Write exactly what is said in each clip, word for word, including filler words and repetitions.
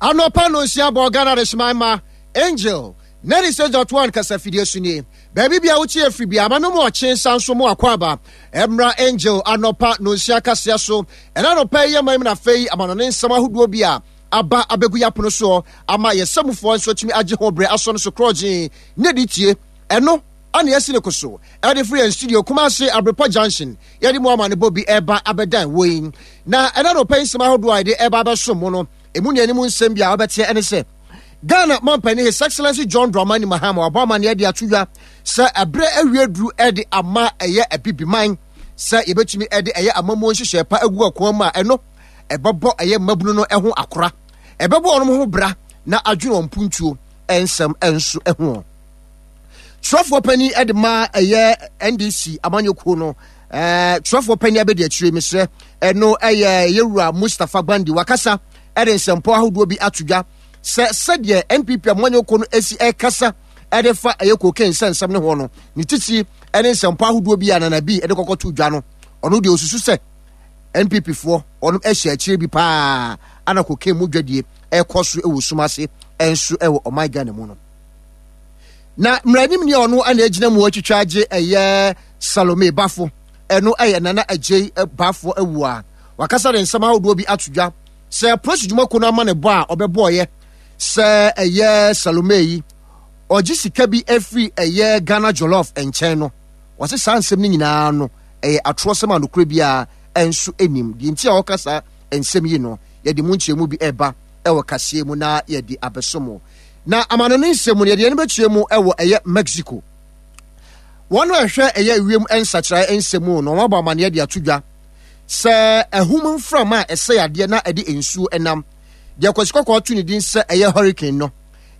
Anɔpa no nsia bɔ Ghana Adehyeman ma Angel ninety-six point one kasafidie so nie. Baabi bia wotie afiri bia ma no mu ɔkye nsa nso mu akɔ aba ɛmmra Angel anɔpa no nsia kaseɛ so. Ɛna anɔpa yi yɛ man mu na afei amanɔne nsɛm ahodoɔ bi a aba abɛgu yɛ apono soɔ ama yɛsɛmufoɔ nso atumi agye ho berɛ asɔ no so korɔgyee ne de tie. Ɛno ana yɛsi ne ko so ɛde firi yɛn studio Kumase Abrepa Junction. Yɛde mu ama ne bɔ bi ɛba abɛdan wɔ yi na ɛna anɔpa yi nsɛm ahodoɔ a yɛde ɛba abɛso mu no, emu nea anim nsɛm bi a wɔbɛteɛ ɛne sɛ Ghana mampanin, His Excellency John Dramani Mahama, wabɔ amanneɛ de ato dwa sɛ ɛberɛ awie duru ɛde ama ɛyɛ Abibiman sɛ yɛbɛtumi ɛde ɛyɛ amammuo nhyehyɛe pa agu akwan mu a ɛno ɛbɛbɔ ɛyɛ mmabunu no ho akora, ɛbɛbɔ wɔn ho bra na adwene wɔn mpuntuo nsɛm nso ho. Twerɛfoɔ panin de ma ɛyɛ N D C amanyɔkuo no, ɛɛ twerɛfoɔ panin abɛdi akyire, mesrɛ, ɛno ɛyɛ yɛwura Mustapha Gbandi, wakasa ɛde nsɛmpɔ ahodoɔ bi ato dwa sɛ sɛdeɛ N P P amanyɔkuo no esi ɛkasa ɛde fa ɛyɛ cocaine nsɛnsɛm ne ho no, ne titi ɛne nsɛmpɔ ahodoɔ bi a Nana bi ɛde kɔkɔ to dwa no, ɔno deɛ osusu sɛ N P P foɔ ɔno ɛhyɛ akyire bi paa ana cocaine mu dwadie ɛkɔ so ɛwɔ sum ase ɛnso ɛwɔ ɔman Ghana mu no. Na mmaranim ni a ɔno ana egyina mu atwitwa agye ɛyɛ Salome Bafo, ɛno ɛyɛ Nana Agyei Bafo awu a wakasa de nsɛm ahodoɔ bi ato dwa sɛ polisi dwumakuo no ama ne bɔ a ɔbɛbɔɔyɛ sɛ ɛyɛ Salome yi ɔgye sika bi afiri ɛyɛ Ghana Jollof nkyɛn no, wɔse saa nsɛm no nyinaa no ɛyɛ atorɔsɛm a nokorɛ biara ɛnso anim. Deɛ nti a ɔka saa nsɛm yi no, yɛde mu nkyerɛmu bi ɛba ɛwɔ kaseɛ mu na yɛde abɛso mu. Na amano ne nsɛm mu no, yɛde yɛn bɛkyerɛ mu ɛwɔ ɛyɛ Mexico. Wɔn a ɛhwɛ ɛyɛ wiem nsakyerɛ nsɛm mu no, wɔn abɔ amaneɛ de ato dwa sɛ ɛhum mframa a ɛsɛ adeɛ na ɛde nsuo ɛnam deɛ Kwasi Kɔkɔɔ to ne din sɛ ɛyɛ hurricane no,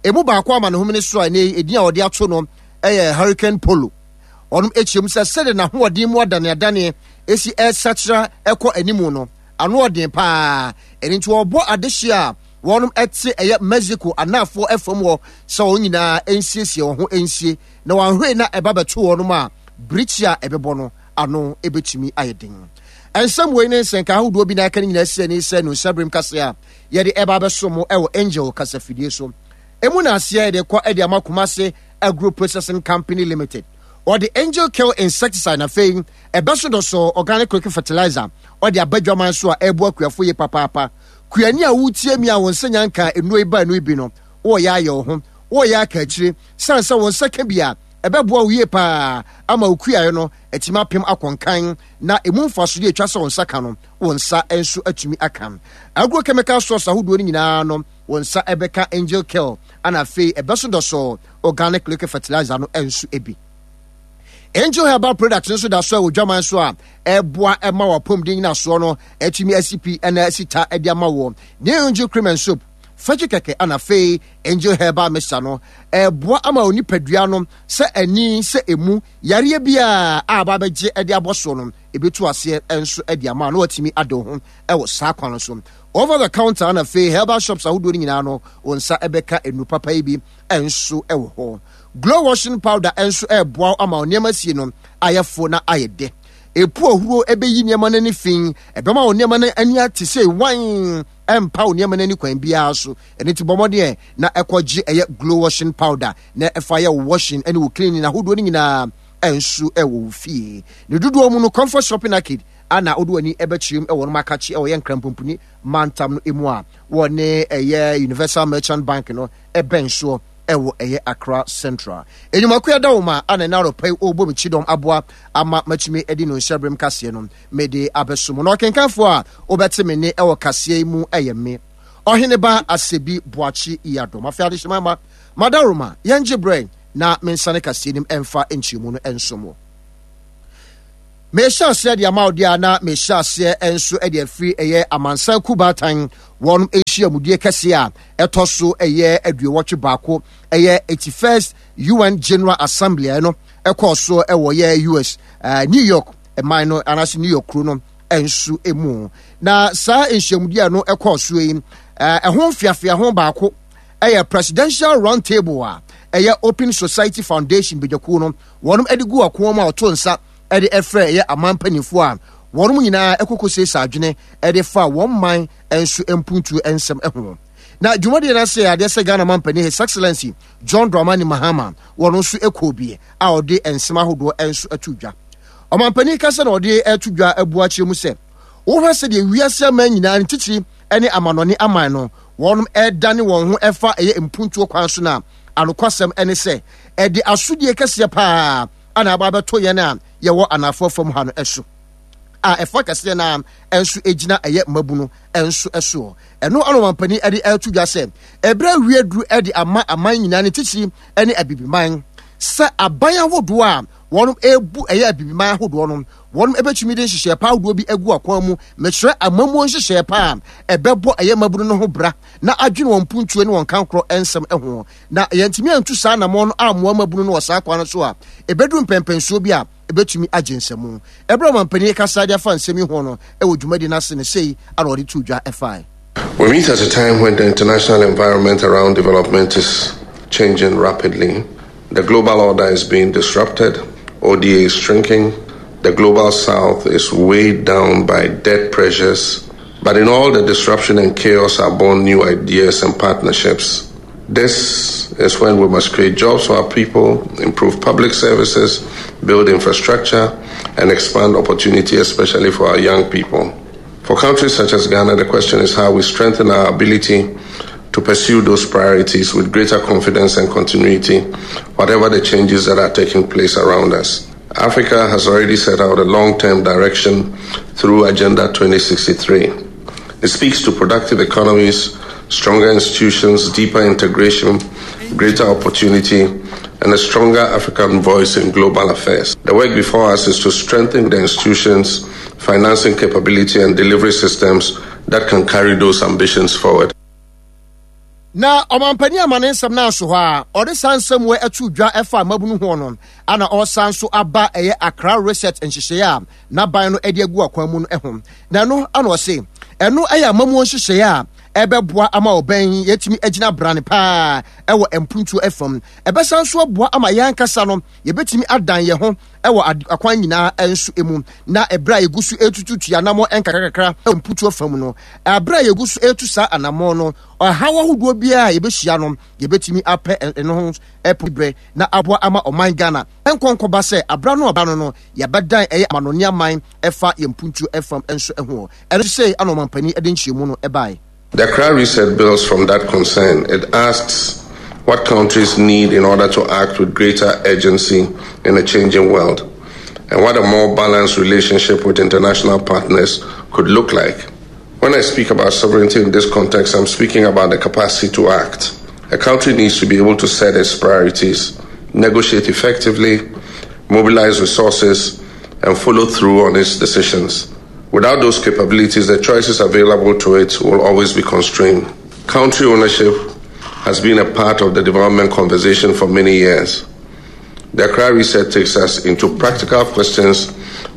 emu baako ama ne homene so a ɛnɛ edin a wɔde ato no ɛyɛ Hurricane Polo. Ɔnom akyerɛ mu sɛ sɛdeɛ n'ahoɔden mu adaneadaneɛ esi ɛsakyera ɛkɔ anim no, ano ɔden paa. Ɛno nti wɔbɔ adehyeɛ a wɔnom ɛte ɛyɛ Mexico anaafoɔ ɛfam hɔ sɛ wɔn nyinaa nsiesie wɔn ho nsie na wɔahwɛ na ɛba bɛto wɔnom a, birikyi a ɛbɛbɔ no ano ɛbɛtumi ayɛ den. Ɛnsɛm wei ne nsɛnka ahodoɔ bi na aka no nyinaa si ani sɛ no nsaberem kase a yɛde ɛba abɛso mo ɛwɔ Angel kasafidie so. Emu na aseɛ yɛde kɔ ɛde ama Kumase Agro Processing Company Limited. Ɔde Angel Kill insecticide na afei ɛbɛso dɔsɔ organic quick fertilizer ɔde aba dwaman so a ɛreboa kuafo yie papaapa. Kuani a wotie mi a wɔn nsa nyanka nnuro yi ba nnuro yi bi no, wɔreyɛ ayɛ wo ho, wɔreyɛ aka akyire sane sɛ wɔn nsa ka bi a, ɛbɛboa wo yie paa ama wo kuaeɛ no atumi apem akɔnkan na emu mfasodeɛ atwa sɛ wɔn nsa ka no, wɔn nsa nso atumi aka. Agrochemical source ahodoɔ no nyinaa no, wɔn nsa ɛbɛka Angel Kill ana afei ɛbɛso dɔsɔ organic liquid fertilizer no nso bi. Angel Herbal Product nso da so a wɔ dwaman so a ɛboa ɛma wɔ apɔmuden nyinasoɔ no atumi asi pi ɛna asi ta ɛde ama wɔ ne Angel Cream and Soap fɛkye kɛkɛ ana afei Angel Herbal Mixture no ɛboa ama onipadua no sɛ ani sɛ emu yareɛ biara a aba abɛgye ɛde abɔ soɔ no, ebetu aseɛ nso ɛde ama na watumi ade ho ɛwɔ saa kwan no so. Over the counter ana afei herbal shops ahodoɔ no nyinaa no, wɔn nsa ɛbɛka enu papa yi bi nso ɛwɔ hɔ. Glow washing powder nso ɛreboa ama nneɛma sie no ayɛ fo na ayɛ dɛ. Epu ohuro ɛbɛyi nneɛma no ani fi, ɛbɛma wɔn nneɛma no ani ate sɛ wan ɛmpa wɔn nneɛma no ani kwan biara so. Ɛno ti bɔ mmɔden na ɛkɔgye ɛyɛ Glow washing powder na ɛfa yɛ washing ɛne wɔ cleaning ahodoɔ no nyinaa ɛnso ɛwɔ wo fie. Ne dodoɔ mu no, Comfort Shopping Arcade ana wode w'ani ɛbɛkyerɛ mu ɛwɔ no makakye ɛwɔ yɛ Nkrampomponi mantam no emu a wɔne ɛyɛ Universal Merchant Bank no ɛbɛn soɔ ɛwɔ ɛyɛ Accra Central. Enyimako ɛda wo ma ana ɛna arɔpa yi ɔrebɔ me kyidɔm aboa ama matumi ɛde no nhyɛbrem kaseɛ no mede abɛso mu. Na ɔkenkanfoɔ a wobɛte me ne ɛwɔ kaseɛ yi mu ɛyɛ me Ɔheneba Asebi Boakye Yiadom. Afei adehyema ma madaroma yɛngye berɛ na mensane kaseɛ nim ɛmfa nkyerɛmu no ɛnso mu. Mehyɛ aseɛ de ama wo deɛ a, na mehyɛ aseɛ nso de afiri ɛyɛ amansan kubaatan wɔn nhyiamudie kɛseɛ a ɛtɔ so ɛyɛ aduowɔtwe baako, ɛyɛ eighty-first U N General Assembly no ɛkɔɔ so ɛwɔ yɛ U S uh, New York ɛman no anaasɛ New York kuro no nso mu. Na saa nhyiamudie no ɛkɔɔ so yi, ɛho mfiafia ho baako ɛyɛ Presidential Round Table a ɛyɛ Open Society Foundation badwakuo no wɔn de gu ɔko mu a ɔto nsa ɛde ɛfrɛ ɛyɛ aman mpanimfoɔ a wɔn nyinaa ɛkoko siesie adwene ɛde fa wɔn man nso mpuntuo nsɛm ho. Na dwumadie no ase adeɛ sɛ Ghana mampanin, His Excellency John Dramani Mahama, wɔno nso ɛkɔɔ bi a ɔde nsɛm ahodoɔ nso ato dwa. Ɔmampanin kasa na ɔde ato dwa abu akyerɛ mu sɛ wohwɛ sɛdeɛ wiase aman nyinaa ne titiri ne amanɔne aman no wɔnom ɛdane wɔn ho ɛfa ɛyɛ mpuntuo kwan so no a, anokwasɛm ne sɛ ɛde asodie kɛseɛ paa ana aba abɛto yɛn a yɛwɔ anafoɔ fam ha no ɛso a ɛfa kɛseɛ no nso gyina ɛyɛ mmabunu nso soɔ. Ɛno ano mampanin de ɛto dwa sɛ ɛberɛ awie duru de ama aman nyinaa ne titiri ne Abibiman sɛ aban ahodoɔ a wɔn ebu ɛyɛ Abibiman ahodoɔ no, wɔn ebɛtumi de nhyehyɛɛ pa ahodoɔ bi agu akwan mu, mekyerɛ amammuo nhyehyɛɛ pa a ɛbɛbɔ ɛyɛ mmabunu no ho bra na adwene wɔn mpuntuo ne wɔn kankorɔ nsɛm ho. Na yɛntumi antu saa anammɔn no ammoa mmabunu no wɔ saa kwan no so a, ɛbɛduru mpɛmpɛnsuo bi a ɛbɛtumi agye nsɛmu. Ɛberɛ ɔmampanin kasa de afa nsɛm yi ho no ɛwɔ dwumadi no ase no, sei ana ɔde to dwa ɛfae. We meet at a time when the international environment around development is changing rapidly. The global order is being disrupted, O D A is shrinking, the Global South is weighed down by debt pressures. But in all the disruption and chaos are born new ideas and partnerships. This is when we must create jobs for our people, improve public services, build infrastructure, and expand opportunity, especially for our young people. For countries such as Ghana, the question is how we strengthen our ability to pursue those priorities with greater confidence and continuity, whatever the changes that are taking place around us. Africa has already set out a long term direction through Agenda twenty sixty-three. It speaks to productive economies, stronger institutions, deeper integration, greater opportunity, and a stronger African voice in global affairs. The work before us is to strengthen the institutions, financing capability, and delivery systems that can carry those ambitions forward. Na ɔmampanin ama ne nsɛm no aso hɔ a ɔde saa nsɛm wɔ ɛto dwa ɛfa mmabunu ho no, ana ɔsan so aba ɛyɛ Accra Reset nhyehyɛeɛ a n'aban no de agu akwan mu no ho. Na ɛno ana ɔse ɛno ɛyɛ amamuo nhyehyɛeɛ a ɛbɛboa ama ɔbɛn yɛtumi agyina brane paa ɛwɔ mpuntuo ɛfam. Ɛbɛsan so aboa ama yɛn ankasa no yɛbɛtumi adan yɛn ho ɛwɔ akwan nyinaa nso mu. Na ɛberɛ a yɛgu so etututu anammɔ nkakrakakra ɛwɔ mpuntuo fam no, ɛberɛ a yɛgu so etu saa anammɔ no, ɔhaw ahodoɔ biara a yɛbɛhyia no, yɛbɛtumi apɛ ɛno ho ɛpo berɛ na aboa ama ɔman Ghana nkɔnkɔba sɛ abra no ɔba no no yɛbɛdan ɛyɛ amanɔne aman ɛfa yɛn mpuntuo ɛfam nso ɛho. Ɛno sɛ ana ɔmampanin ɛde nkyerɛmu no ɛbaeɛ. The Accra Reset builds from that concern. It asks what countries need in order to act with greater urgency in a changing world, and what a more balanced relationship with international partners could look like. When I speak about sovereignty in this context, I'm speaking about the capacity to act. A country needs to be able to set its priorities, negotiate effectively, mobilize resources, and follow through on its decisions. Without those capabilities, the choices available to it will always be constrained. Country ownership has been a part of the development conversation for many years. The Accra Reset takes us into practical questions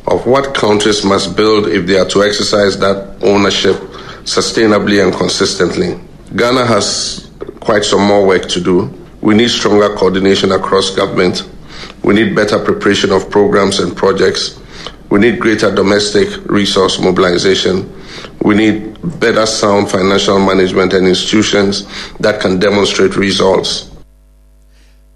of what countries must build if they are to exercise that ownership sustainably and consistently. Ghana has quite some more work to do. We need stronger coordination across government. We need better preparation of programs and projects. We need greater domestic resource mobilization. We need better sound financial management and institutions that can demonstrate results.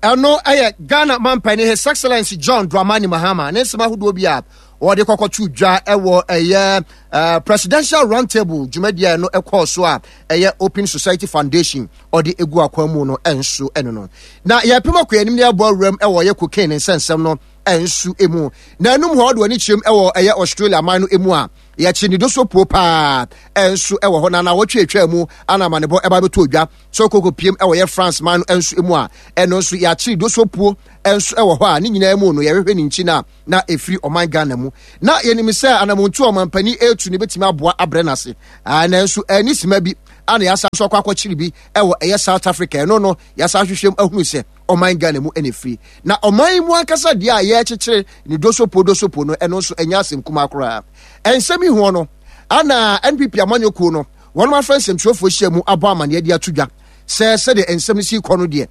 Ɛno ɛyɛ Ghana mampanin, His Excellency John Dramani Mahama, ne nsɛm ahodoɔ bi a wɔde kɔkɔto dwa ɛwɔ ɛyɛ uh, presidential round table dwumadie a ɛno ɛkɔɔ so a ɛyɛ Open Society Foundation ɔde egu akwan mu no ɛnso ɛno no. Na yɛpem akɔ anim ne ɛbɔ awuram ɛwɔ ɛyɛ cocaine nsɛnsɛm no ɛnso emu. Na enum hɔ ɔde wɔn ani kyerɛm ɛwɔ ɛyɛ Australia man no emu a yɛkye ne doso puo paa ɛnso ɛwɔ hɔ. Na na wɔtwe atwa mu ana amanebɔ ɛba bɛtɔ odwa sɛ ɔkɔkɔ piem ɛwɔ yɛ France man no nso mu a ɛno nso yɛakyere doso puo nso ɛwɔ hɔ a ne nyinaa mu no yɛhwehwɛ ne nkyi no na ɛfiri ɔman Ghana mu. Na yɛnim sɛ anamontu a ɔmampanin ɛretu no bɛtumi aboa abrɛ no ase, nanso ɛni sima bi ana yɛasa nso akɔ akɔkyere bi ɛwɔ ɛyɛ South Africa. Ɛno no yɛasa ahwehwɛ mu ahunu sɛ ɔman Ghana mu ɛna ɛfiri. Na ɔman mu ankasa deɛ a yɛrekyekyere ne dosopo dosopo no, ɛno nso ɛnyɛ asɛm kumaa koraa. Ɛnsɛm yi ho no ana N P P amanyɔkuo no wɔn afrɛ nsɛmtwerɛfoɔ hyia mu abɔ amanneɛ de ato dwa sɛ sɛdeɛ nsɛm no si kɔ no deɛ,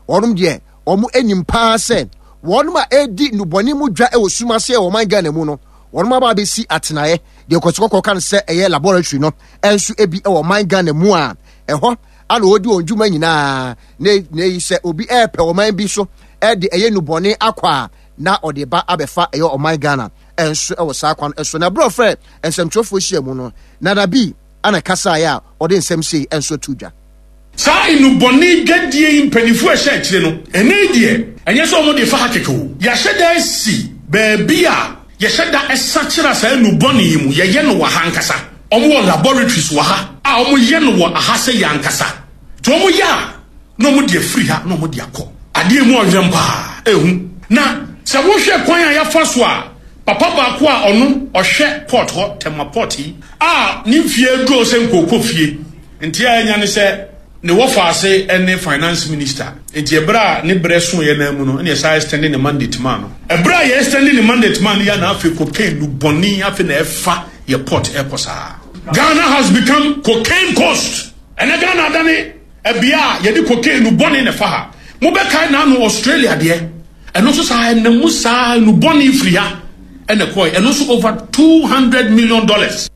wɔnom deɛ wɔn anim paa sɛ wɔnom a ɛredi nnubɔne mu dwa wɔ sum ase wɔ ɔman Ghana mu no, wɔnom aba abɛsi atenaeɛ deɛ kɔsikɔkɔ ka no sɛ ɛyɛ laboratory no nso ebi wɔ ɔman Ghana mu a ɛhɔ Ana ɔdi wɔn dwuma nyinaa ne ne yi sɛ obi ɛɛpɛ ɔman bi so ɛde ɛyɛ nubɔne akɔ a, na ɔde ba abɛfa ɛyɛ ɔman Ghana ɛnso ɛwɔ saa kwan ɛso. Na ɛberɛ ɔfrɛ nsɛmtwerɛfoɔ hyia mu no, Nana Bi ana kasaeɛ a ɔde nsɛm sei ɛnso to dwa. Saa nnubɔne dwadie yi, mpanimfoɔ a ɛhyɛ akyire no, ɛnɛ yi deɛ, ɛnyɛ sɛ wɔn de fa ha kɛkɛ o. Yɛahyɛ da asi baabi a yɛhyɛ da ɛsakyera saa nnubɔne yi mu. Yɛyɛ no wɔ ha ankasa. Wɔn wɔ laboratories wɔ ha a wɔyɛ no wɔ aha sɛ yɛ ankasa. Nti wɔn yɛ a, na wɔn de afiri ha na wɔn de akɔ. Adeɛ mu ɔhwɛm paa ehu. Na sɛ wohwɛ kwan a yɛafa so a, papa baako a ɔno ɔhwɛ port hɔ, Tema Port yi, a ne mfie aduro sɛ nkooko fie, nti a ɛnya ne sɛ ne wɔfa ase ne finance minister. Nti ɛberɛ a ne berɛ so yɛ nan mu no, ɛna yɛsa extend ne mandate maa no. Ɛberɛ a yɛ extend ne mandate maa no yɛ, na afei cocaine no bɔne afei na ɛfa yɛ port ɛkɔ saa. Ghana has become cocaine coast. Ɛnɛ Ghana adane ɛbea a yɛde cocaine no bɔne na ɛfa ha. Mobɛkae n'ano Australia deɛ, ɛno nso saa, ɛnam mu saa no bɔne firi ha ɛna kɔɛ, ɛno nso over two hundred million dollars.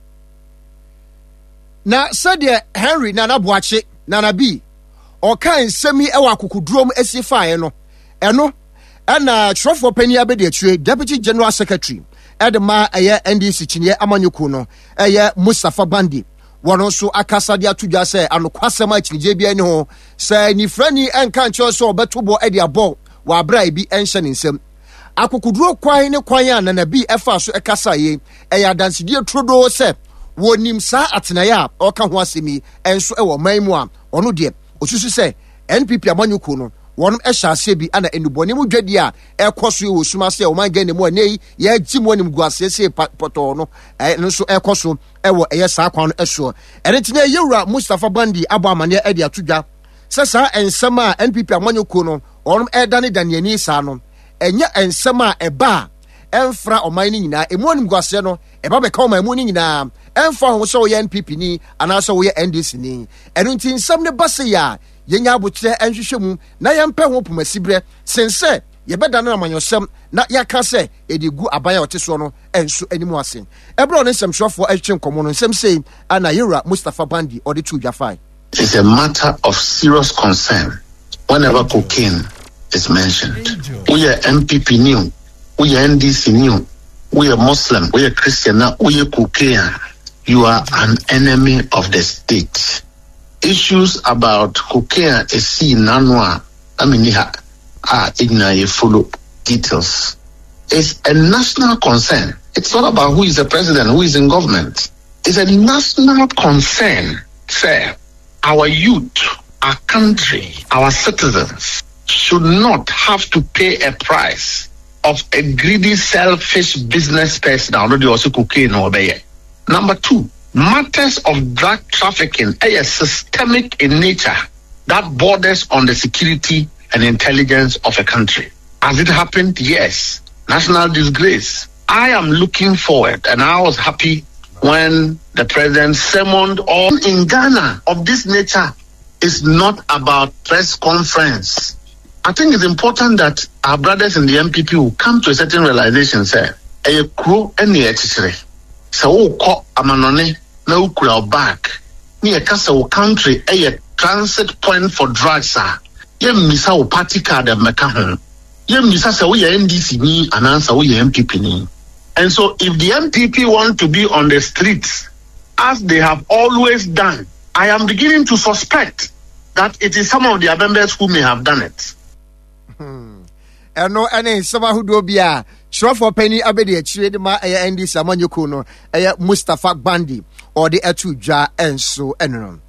Na sɛdeɛ Henry Nana Boakye Nana Bi ɔka nsɛm yi wɔ akokodurom asi faeɛ no, ɛno ɛna twerɛfoɔ panyin abɛdi akyire, Deputy General Secretary ɛde ma ɛyɛ N D C kyiniiɛ amanyɔkuo no, ɛyɛ Mustapha Gbande, wɔn nso akasa de ato dwa sɛ anokwasɛm a akyinnyegye bi ani ho sɛ nifrani ɛnka nkyerɛ sɛ ɔbɛto bɔ de abɔ wɔ abere a ebi ɛnhyɛ ne nsam. Akokoduro kwan ne kwan a Nana Bi ɛfa so ɛkasa yi ɛyɛ adansedie turodoo sɛ wɔnim saa atenaeɛ a ɔka ho asɛm yi ɛnso ɛwɔ ɔman mu a ɔno deɛ osusu sɛ N P P amanyɔkuo no wɔn hyɛ aseɛ bi ana nnubɔne mu dwadie a ɛkɔ so wɔ sum ase a ɔman Ghana mu a ne yi yɛgye mu anim gu aseɛ sie pɔtɔɔ no, ɛno nso ɛkɔ so ɛwɔ ɛyɛ saa kwan no ɛsoɔ. Ɛno nti na yɛwura Mustapha Gbande abɔ amanneɛ ɛde ato dwa sɛ saa nsɛm a N P P amanyɔkuo no wɔn ɛdane daneani saa no, ɛnyɛ nsɛm a ɛba a ɛmfra ɔman no nyinaa. Emu anim gu aseɛ no ɛba bɛka ɔman mu no nyinaa, ɛmfa ho sɛ woyɛ N P P ni anaasɛ woyɛ N D C ni. Ɛno nti nsɛm no ba se yɛ a, yɛnya abokyerɛ nhwehwɛ mu na yɛmpɛ ho pomasiberɛ sen sɛ yɛbɛda no amanyɔsɛm na yɛaka sɛ yɛde gu aban a ɔte soɔ no nso anim ase. Ɛberɛ a ɔne nsɛmtwerɛfoɔ atwetwe nkɔmmɔ no, nsɛm sei ana yɛwura Mustapha Gbande ɔde to dwa fae. It's a matter of serious concern whenever cocaine is mentioned. We are N P P new, we are N D C new, we are Muslim, we are Christian, now we are cocaine. You are an enemy of the state. Issues about cocaine is seen nanwa. I mean, ah, follow details. It's a national concern. It's not about who is the president, who is in government. It's a national concern, sir. Our youth, our country, our citizens should not have to pay a price of a greedy, selfish business person. Already also cocaine or Number two, matters of drug trafficking are systemic in nature that borders on the security and intelligence of a country. Has it happened? Yes. National disgrace. I am looking forward, and I was happy when the president summoned all in Ghana of this nature is not about press conference. I think it's important that our brothers in the N P P will come to a certain realization, sɛ, ɛyɛ kuro ɛne ɛkyekyere. Sɛ wokɔ amanɔne na wokura wo bag ne yɛka sɛ wo country ɛyɛ transit point for drugs a, yɛmmisa wo party card mmɛka ho. Yɛmmisa sɛ woyɛ N D C ni anaasɛ woyɛ N P P ni. And so if the N P P want to be on the streets as they have always done, I am beginning to suspect that it is some of their members who may have done it. Ɛno ɛne nsɛm ahodoɔ bi a kyerɛfoɔ panyin abɛdi akyire de ma ɛyɛ N D C amanyɔkuo no, ɛyɛ Mustapha Gbande, ɔde ɛto dwa ɛnso. Ɛno no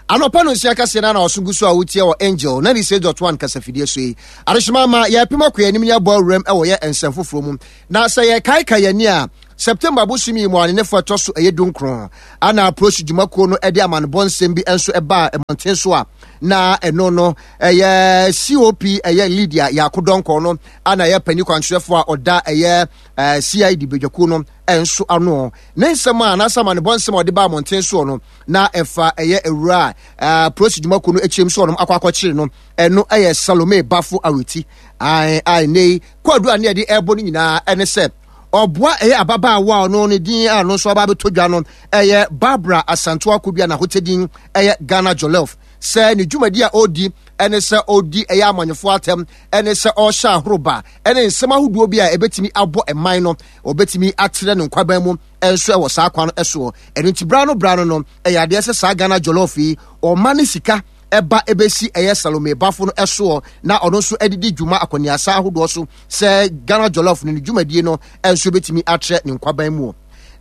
anɔpa no nsia kaseɛ no na ɔso gu so a wotie wɔ Angel ninety-six point one kasafidie so yi. Adehyema ma yɛpem akɔ anim ne abɔ awuram ɛwɔ yɛ nsɛm foforɔ mu. Na sɛ yɛkaeka yɛni a, September bosom yi mu a ne ne ɛtɔ so ɛyɛ dunkron ana apolisi dwumakuo no de amanebɔ nsɛm bi nso ɛbaa mmɔnten so a na ɛno no ɛyɛ C O P ɛyɛ Lydia Yaako Dɔnkɔ no ana ɛyɛ panyin kwankyerɛfoɔ a ɔda ɛyɛ C I D badwakuo no nso ano. Ne nsɛm a anaasɛ amanebɔ nsɛm a ɔde baa mmɔnten soɔ no na ɛfa ɛyɛ awura a polisi dwumakuo no akyerɛm so ɔnom akɔ akɔkyere no, ɛno ɛyɛ Salome Bafo Aweti. Ae ae, ne yi kɔadu a ne yɛde ɛrebɔ no nyinaa ɛne sɛ ɔboa ɛyɛ ababaawa a ɔno ne din a ɔno nso aba abɛtɔ dwa no ɛyɛ Barbara Asantewa Kodua, n'ahotɛ din ɛyɛ Ghana Jollof. Sɛ ne dwumadi a ɔredi ɛne sɛ ɔredi ɛyɛ amanyɔfoɔ atɛm, ɛne sɛ ɔrehyɛ ahoroba ɛne nsɛm ahodoɔ bi a ɛbɛtumi abɔ ɛman no, ɔbɛtumi atrɛ ne nkwaban mu ɛnso ɛwɔ saa kwan no ɛsoɔ. Ɛno nti bra no bra no no ɛyɛ adeɛ sɛ saa Ghana Jollof yi ɔma ne sika ɛba ɛbɛsi ɛyɛ Salome Bafo no ɛsoɔ, na ɔno nso ɛdidi dwuma akɔneasa ahodoɔ so sɛ Ghana Jollof no ne dwumadie no ɛnso bɛtumi atrɛ ne nkwaban mu.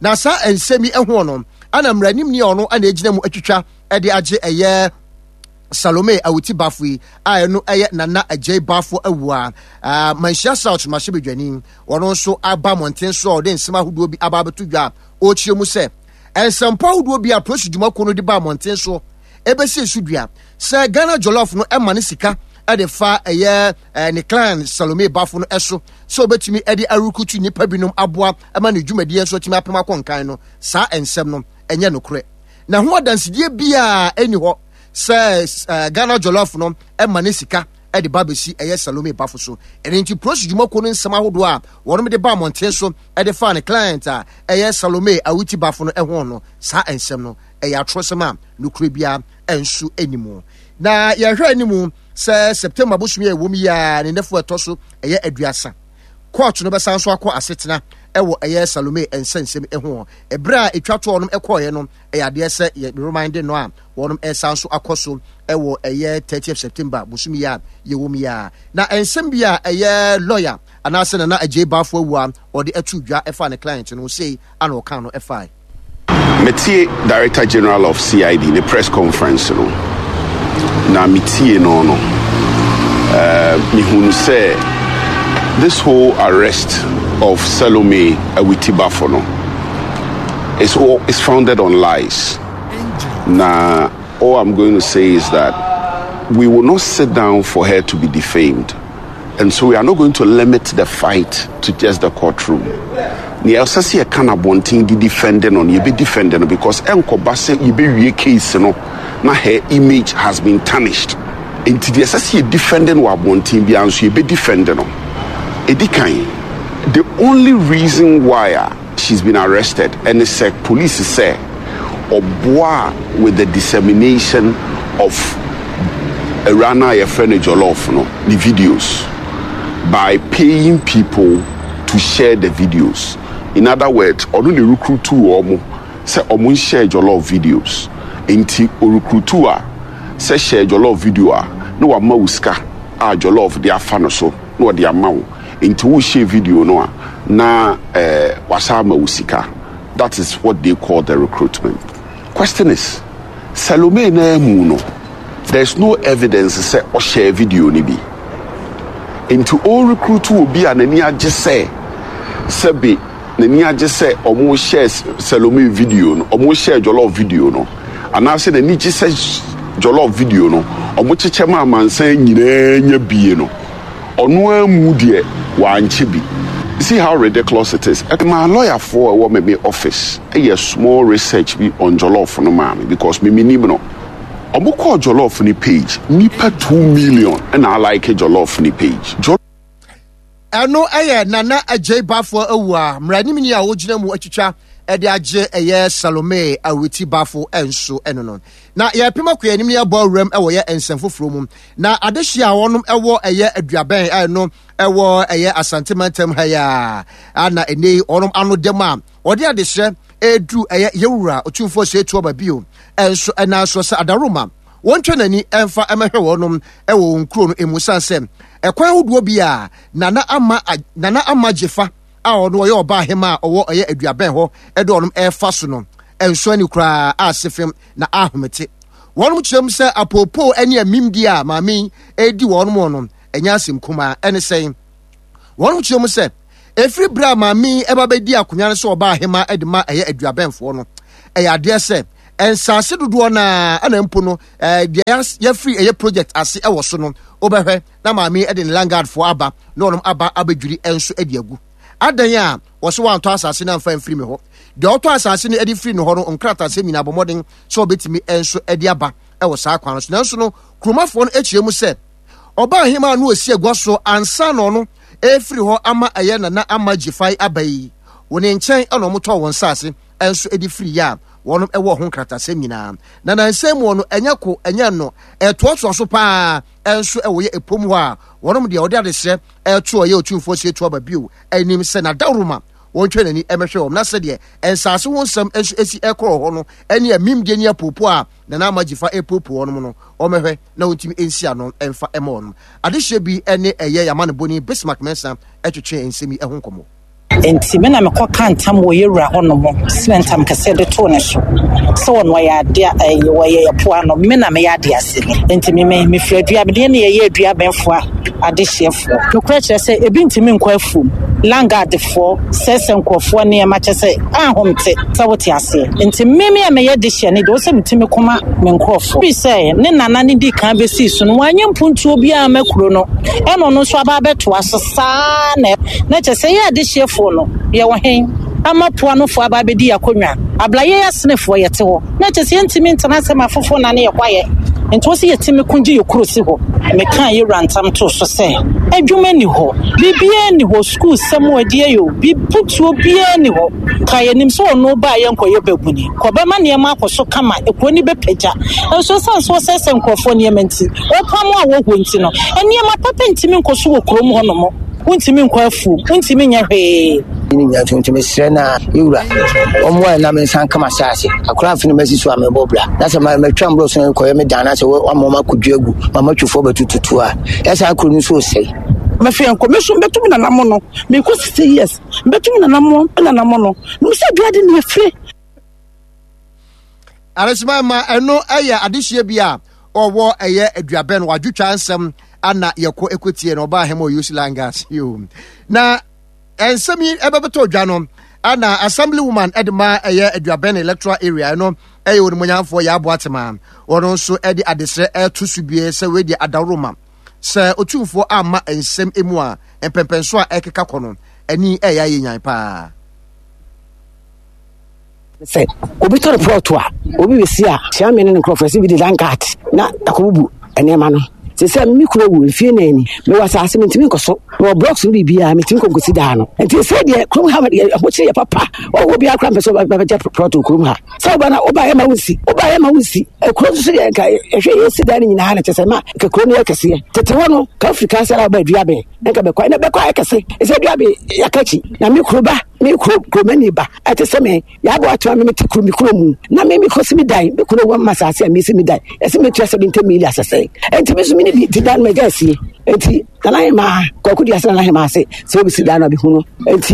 Na saa nsɛm yi ɛho no ana mmaranimni a ɔno ana egyina mu atwitwa ɛde agye ɛyɛ Salome Awuti Bafo yi a ɛno ɛyɛ Nana Agyei Bafo awu a Manhyia South mmarahyɛbadwani, ɔno nso aba mmɔnten so a ɔde nsɛm ahodoɔ bi aba abɛto dwa a ɔrekyerɛ mu sɛ nsɛmpɔ ahodoɔ bi a polisi dwumakuo no de ba mmɔnten so ɛbɛsi so dua sɛ Ghana Jollof no ɛma ne sika ɛde fa ɛyɛ ne clan Salome Bafo no ɛso sɛ ɔbɛtumi ɛde arukutu nnipa binom aboa ɛma ne dwumadie nso atumi apem akɔ nkan no, saa nsɛm no ɛnyɛ nokorɛ na ho adansedie biara ɛni hɔ sɛ Ghana Jollof no ɛma ne sika ɛde ba bɛsi ɛyɛ Salome Bafo so. Ɛno nti polisi dwumakuo no nsɛm ahodoɔ a wɔnom de ba mmɔnten so ɛde fa ne client a ɛyɛ Salome Awuti Bafo no ɛho no, saa nsɛm no ɛyɛ atorɔsɛm a nokorɛ biara ɛnso ɛni. Na yɛhwɛ anim sɛ September bosom yɛ ɛwɔ mu yi a ne nɛfo ɛtɔ so ɛyɛ aduasa, court no bɛsan so akɔ asetena ɛwɔ ɛyɛ Salome nsɛnsɛm ɛho. Ɛberɛ a ɛtwa toɔ no ɛkɔɔyɛ no, ɛyɛ adeɛ sɛ yɛ remind no a wɔnom ɛsan so akɔ so ɛwɔ ɛyɛ thirtieth September bosom yi a yɛwɔ mu yi a. Na nsɛm bi a ɛyɛ lawyer anaasɛ Nana Agyei Bafo awu a ɔde ɛto dwa ɛfa ne client no sei ana ɔka no ɛfae. Metie Director General of C I D ne press conference no, na metie no no uh, mehunu sɛ this whole arrest of Salome Awiti Bafo no is, all, is founded on lies. Na all I'm going to say is that we will not sit down for her to be defamed, and so we are not going to limit the fight to just the courtroom. Nea ɛsɛ sɛ yɛka no abɔnten de defend no no, yɛbɛ defend no, because ɛnkɔba sɛ yɛbɛwie case no na her image has been tarnished. Nti deɛ ɛsɛ sɛ yɛ defend no wɔ abɔnten biara nso, yɛbɛ defend no. Ɛdi kan, the only reason why a she's been arrested ɛne sɛ police sɛ ɔboa with the dissemination of awura no a yɛfrɛ no Jollof no ne videos by paying people to share the videos. In other words, ɔno ne recruit wɔn sɛ ɔmo nshare Jollof videos. Nti orecruit a sɛ share Jollof video a, na wama wo sika a Jollof de afa no so na ɔde ama wo. Nti wo share video no a, na ɛɛ wasa ama wo sika. That is what they call the recruitment. Question is, Salome na emu no, there is no evidence sɛ ɔshare video ni bi. Nti o recruit obi a n'ani agye sɛ sɛbi n'ani agye sɛ ɔmo share Salome video no, ɔmo share Jollof video no, anaasɛ n'ani gye sɛ Jollof video no ɔmo kyekyɛ ma amansan nyinaa nya bie no, ɔno amu deɛ wankyɛ bi. See how ridiculous it is. My lawyer for ɛwɔ me me office ɛyɛ small research bi on Jollof no maa me, because me me nim no. Ɔmo kɔɔ Jollof ni page, nipa two million ɛna alike Jollof ni page. Ɛno ɛyɛ Nana Agyei Bafo awu a mmaranimni a wogyina mu atwitwa ɛde agye ɛyɛ Salome Awiti Bafo ɛnso ɛno no. Na yɛpem akɔ anim ne yɛbɔ awuram ɛwɔ yɛ nsɛm foforɔ mu. Na adehyia a wɔnom ɛwɔ ɛyɛ Aduabɛn a ɛno ɛwɔ ɛyɛ Asante mantam ha yi a ana ɛnɛ yi wɔnom ano dɛm a wɔde adehyɛ ɛredu ɛyɛ yɛwura Otumfoɔ sɛ etu ɔba bio ɛnso ɛnan so sɛ adaroma wɔntwa n'ani ɛmfa ɛmɛhwɛ wɔnom ɛwɔ wɔn kuro no emu, san sɛ ɛkwan ahodoɔ bi a Nana Ama Nana Ama Gyefa a ɔno ɔyɛ ɔbaa ahema a ɔwɔ ɛyɛ Aduabɛn hɔ ɛde ɔnom ɛrefa so no ɛnso ani koraa a sefem na ahomete. Wɔnom kyerɛ mu sɛ apoopoo ne amimdi a maame yi ɛredi wɔnom no ɛnyɛ asɛm kumaa. Ɛne sɛn? Wɔnom kyerɛ mu sɛ ɛfiri berɛ a maame yi ɛba bɛdi akonnwa no sɛ ɔbaa ahema de ma ɛyɛ Aduabɛnfoɔ no, ɛyɛ adeɛ sɛ nsaase dodoɔ naa ɛna mpo no ɛɛ deɛ yɛfiri ɛyɛ project ase ɛwɔ so no, wobɛhwɛ na maame yi de ne landguardfoɔ aba na wɔnom aba abɛdwiri nso de agu adan a wɔsɛ wɔantɔ asase no amfa mfiri me hɔ. Deɛ ɔtɔ asase no de firi ne hɔ no, nkratasɛm nyinaa bɔ mmɔden sɛ ɔbɛtumi nso de aba ɛwɔ saa kwan no so. Nanso no kuromafoɔ no akyerɛ mu sɛ ɔbaa ahema no ɔsi agua so ansa na ɔno ɛfiri hɔ ama ɛyɛ Nana Ama Gyefai aba yi wɔ ne nkyɛn ɛna ɔmotɔɔ wɔn nsase nso de firi yɛ a wɔnom ɛwɔ ho nkratasɛm nyinaa. Na nansa mu no ɛnyɛ ko ɛnyɛ no ɛtoatoa so paa ɛnso ɛwɔ yɛ epom hɔ a wɔnom deɛ ɔde adesrɛ ɛto ɔyɛ Otumfoɔ Osei Tutu aba bio anim sɛ n'adawuruma wɔntwe n'ani ɛmɛhwɛ wɔn na sɛdeɛ nsaase ho nsɛm nso esi ɛkɔ wɔ hɔ no ɛne amimdie ne apopo a Nana Ama Gyifa ɛpopo wɔnom no wɔmɛhwɛ na wɔntumi nsi ano ɛmfa ɛma wɔnom. Adehyɛ bi ɛne ɛyɛ Yamanebɔni Bismarck Mensah ɛtwetwe nsɛm yi ɛho nkɔmmɔ. Enti me na mekɔkaa ntam wɔ yɛn wura hɔnom, srɛɛ ntam kɛseɛ de too ne so, sɛ ɔno ɔyɛ adeɛ ɛyɛ wɔyɛ yɛ po ano, me na meyɛ adeɛ aseni. Enti me me mefiri adua deɛ ne yɛyɛ aduabɛnfoɔ adehyeɛfoɔ. Nokorɛ kyerɛ sɛ ebi ntumi nkɔ afuom, langaadfoɔ sɛesɛ nkurɔfoɔ nneɛma kyerɛ sɛ ahomte sɛ wote aseɛ. Enti me me a meyɛ dehyeɛ no deɛ ɔsɛ metumi ko ma me nkurɔfoɔ. Ɛfiri sɛ ne nana no dii kan bɛsii so no wanyɛ mpuntuo biara amma kuro no, ɛna ɔno nso aba abɛtoa so saa na na kyerɛ sɛ yɛ adehyeɛfoɔ no yɛwɔ he ama poanofoɔ aba abɛdi yɛn akonnwa abla yɛn asenefoɔ yɛte hɔ na kyerɛ sɛ yɛntumi ntena ase ma afoforɔ nane yɛ kwaeɛ nti wɔ sɛ yɛtumi ko gye yɛ kuro si hɔ. Mekaa yɛ wura ntam too so sɛ adwuma nni hɔ, biribiara nni hɔ, sukuu sɛm adie yɛ o, biputuo biara nni hɔ. Ka yɛnim sɛ ɔno baa yɛnkɔyɛ babuni, kɔbɛma nneɛma akɔ so kama, ekuro no bɛpagya. Nso ɛsiane sɛ wɔsɛesɛe nkurɔfoɔ nneɛma nti, wɔpam a wɔhɔ nti no, nneɛma papa ntumi nkɔ so wɔ kurom hɔnom. Wontumi nkɔ afuom, wontumi nyɛ hwee. Ne nyinaa nti nti mesrɛ na yɛwura ɔmmoa yɛn na me nsa nka m'asase akora afe no masi so a mebɔ bra na sɛ matwa mborɔ so kɔyɛ me dan na sɛ wama wɔn akɔdua agu ma matwifoɔ bɛtututu a ɛsaa kuro no nso resɛe. Mɛfɛ nkɔ me so mbɛtum nanamo no mekɔ sixty years mbɛtum nanamo nanamo no mesɛ dua de ne efire. Aresima ma ɛno ɛyɛ adehyeɛ bi a ɔwɔ ɛyɛ aduabɛn wadwotwa nsɛm ana yɛkɔ ɛkɔtie no ɔbaa hɛma ɔyusi langas yo na nsɛm yi ɛbɛbɛtɔ dwa no ana assembly woman ɛde ma ɛyɛ aduabɛn electoral area ɛno ɛyɛ onimonyamfoɔ yɛ aboa tema wɔn nso ɛde adesrɛ ɛto so bie sɛ wei deɛ adaworoma sɛ otumfoɔ amma nsɛm emu a mpɛmpɛnso a ɛkeka kɔ no ani ɛyɛ ayɛ nyan paa. Sɛ obi tɔ ne plɔt a, obi bɛsi a, kyea me ne ne nkurɔfoɔ sɛ bi de landguard na akɔbubu nneɛma no. Te sɛ me kunu awu mfie nan ni, mewɔ asase mentumi nkɔ so, mewɔ blocks no biribiara mentumi nkɔ nkɔsi daa no. Nti sɛ deɛ kurom ha ahokyere yɛ papa, ɔwɔ biara koraa mpɛ sɛ ɔbɛgye plɔt wɔ kurom ha. Sɛ woba na woba yɛ ma wonsi, woba yɛ ma wonsi. Kuro nso so deɛ nka ɛhwɛ yɛsi dan no nyinaa na kyɛ sɛ ma nka kuro no yɛ kɛseɛ. Tete hɔ no, ka wofiri kansara a woba Aduaben, na nka bɛkɔ, ɛnɛ bɛkɔ ayɛ kɛse. Ɛsɛ Aduaben yɛaka akyi, na me kuro ba, me kuro kuromani ba, ɛte sɛ me. Yɛabɔ ato a me mete kuro me kuro mu na me mekɔsi me dan me kuro wɔ ma asase a mesi me dan ɛsɛ metua seventy million asɛsɛ nti me so me ne bi ti dan magya asie nti nana hemaa kwaku di ase nana hemaa ase sɛ obisi dan no abehu no nti.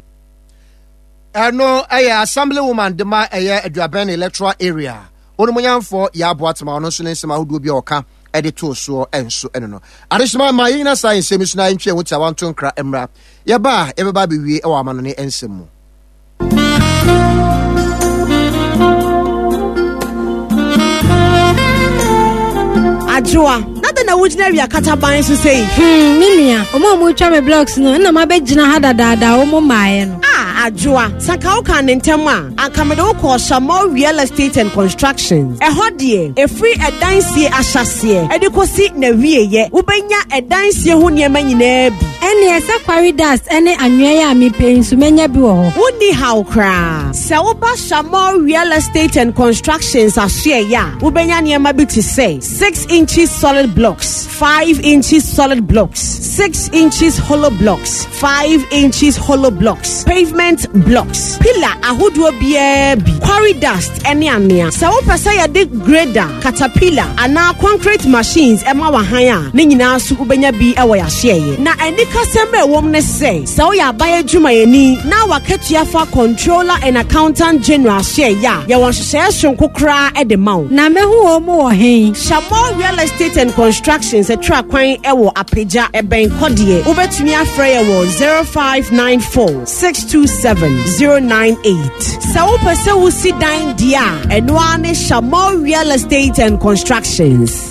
Ɛno ɛyɛ assembly woman de ma ɛyɛ Aduabɛn electoral area onimonyamfoɔ yɛ aboa tema ɔno nso ne nsɛm ahodoɔ bi a ɔka ɛde too soɔ ɛnso ɛno no adehyema ma yɛnyina saa nsɛm yi so na yɛntwe ɛho tiawa nto nkra mmra yɛba a yɛbɛba abɛwie ɛwɔ amanɔne nsɛm mu. Adwoa, na dɛn na wogyina awia kataban so sei? Hmm, me nua, ɔmo a ɔmo twa me blocks no, ɛna mabɛgyina ha dadaada a ɔmo mmaeɛ no. Ah, Adwoa, sɛ anka wokaa ne ntɛm a, anka mede wo kɔɔ Shamal Real Estate and Constructions. Ɛhɔ deɛ, ɛfiri ɛdan sie ahyɛaseɛ ɛde kɔsi n'awieeɛ, wobɛnya ɛdan sie ho nneɛma nyinaa bi. Ɛnneɛ sɛ quarry dust ne anwea yi a mepɛ yi nso mɛnya bi wɔ hɔ. Wonni haw koraa. Sɛ woba Shamor Real Estate and Constructions asoɛeɛ a, wobɛnya nneɛma bi te sɛ six inches solid blocks, five inches solid blocks, six inches hollow blocks, five inches hollow blocks, pavement blocks, pillar ahodoɔ biara bi, quarry dust ne anwea. Sɛ wopɛ sɛ yɛde grader, caterpillar anaa concrete machines ma w'ahan a, ne nyinaa nso wobɛnya bi wɔ yɛn ahyeɛeɛ. Na anikasɛm a ɛwom ne sɛ, sɛ woyɛ aban adwumayɛni na w'akatua fa Controller and Accountant General ahyeɛeɛ a, yɛwɔ nhyehyɛeɛ soronko koraa de ma wo. Na mɛhu wɔn wɔ he? Shamor Real Estate and Constructions tra kwan wɔ Apagya, ɛbɛn Kɔdeɛ. Wobɛtumi afrɛ yɛn wɔ zero five nine four, six two seven, zero nine eight. Sɛ wopɛ sɛ wosi dan deɛ a, ɛno ara ne Shamor Real Estate and Constructions.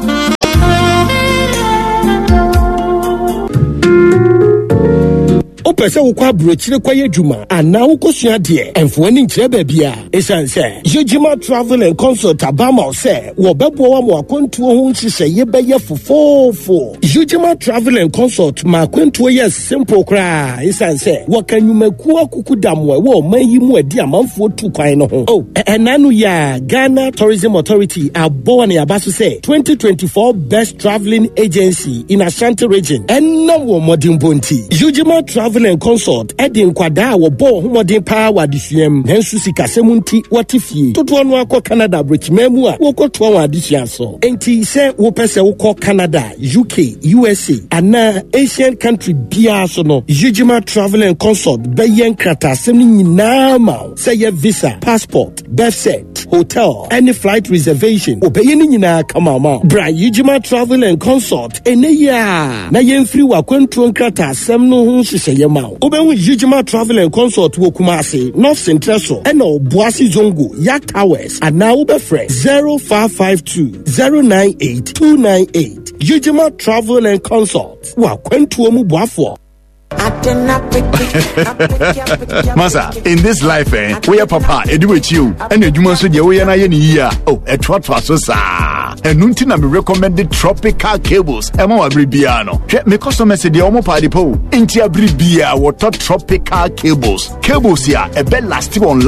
Wopɛ Wopɛ sɛ wokɔ aburokyire kɔyɛ adwuma anaa wokɔsua deɛ, ɛmfoɔ ani nkyerɛ baabi a ɛsiane sɛ Yegyima Travel and Consult aba ma wo sɛ wɔbɛboa wo ama akwantuo ho nhyehyɛeɛ bɛyɛ fofoofo. Yegyima Travel and Consult ma akwantuo yɛ simple koraa, ɛsiane sɛ wɔka nnwumakuo akuku dam a ɛwɔ ɔman yi mu adi amanfoɔ tu kwan no ho. Oh, ɛna no yɛ a Ghana Tourism Authority abɔ wɔn aba so sɛ twenty twenty-four Best Travelling Agency in Ashanti Region ɛnam wɔn mmɔdenbɔ nti. Yegyima Travel and Consult ɛde nkwadaa a wɔbɔ wɔn ho mmɔden paa wɔ adesua mu nanso sikasɛm nti wɔte fie dodoɔ no akɔ Canada aburokyiman mu a wɔkɔtoa wɔn adesua so. Nti sɛ wopɛ sɛ wokɔ Canada, U K, U S A anaa Asian country biara so no, Yegyima Travel and Consult bɛyɛ nkrataasɛm no nyinaa ma wo, sɛ yɛ visa, passport, birth cert, hotel ɛne flight reservation, wɔbɛyɛ no nyinaa kama ma wo. Bra Yegyima Travel and Consult ɛnɛ yi a na yɛmfiri w'akwantuo nkrataasɛm no ho nhyehyɛeɛ ma wo. Wobɛhu Yegyima Travel and Consult wɔ Kumase, North Central so ɛna Ɔboase Zongo Yak Towers, anaa wobɛfrɛ zero five five two zero nine eight two nine eight. Yegyima Travel and Consult, w'akwantuo mu boafoɔ. Masa, in this life, eh, woyɛ papa ɛdi w'akyi o, ɛna adwuma nso deɛ woyɛ no ayɛ ne yie a, oh, ɛtoatoa so saa. Ɛno nti na me recommend Tropical Cables ɛma wɔ abere biara no. Hwɛ, me customers deɛ, ɔmo paade pa o, nti abere biara wɔtɔ Tropical Cables, cables a ɛbɛ last wɔn.